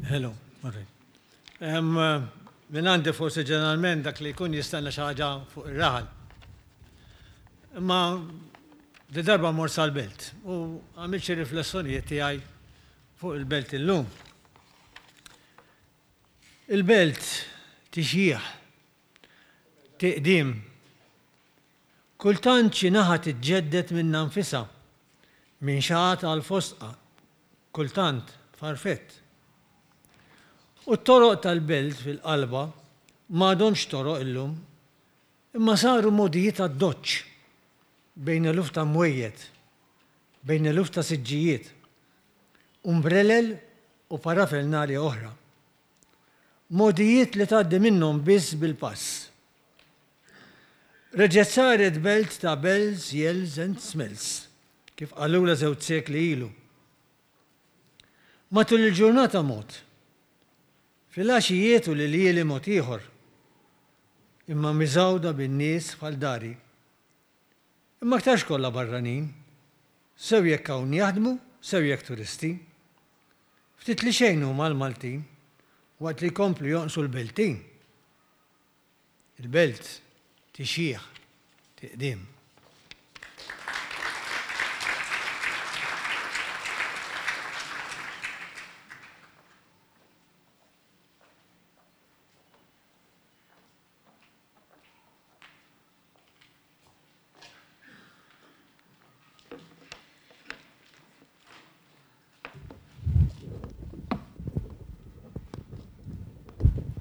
Hello, Minn għandi forsi ġeneralment dak li jkun jistenna xi ħaġa fuq ir-raħal. Imma di darba mort sal-belt u għamilt xi riflessjonijiet tiegħi fuq il-belt illum. Il-belt tixjieħ, tiqdim. Kultant xi naħa tiġġedded minnha nfisha, minn xagħat għal fosdqa, kultant farfett. U t-toroq tal-belt fil-qalba m'għadhomx toroq illum, imma saru mogħdijiet addoċċ bejn eluf ta' mwejjed, bejn eluf ta' siġġijiet, umbrelel u parafernalia oħra. Mogħdijiet li tgħaddi minnhom biss bil-pass. Reġgħet saret belt ta' bells, yells and smells, kif qalulha żewġ sekli ilu. Matul il-ġurnata mod. Filgħaxijiet u l-iljieli mod ieħor. Imma miżgħuda bin-nies bħal dari. Imma aktarx kollha barranin, sew jekk hawn jaħdmu, sew jekk turisti. Ftit li xejn huma l-Maltin, waqt li jkomplu jonqsu l-Beltin. Il-belt tixjieħ, tiqdiem.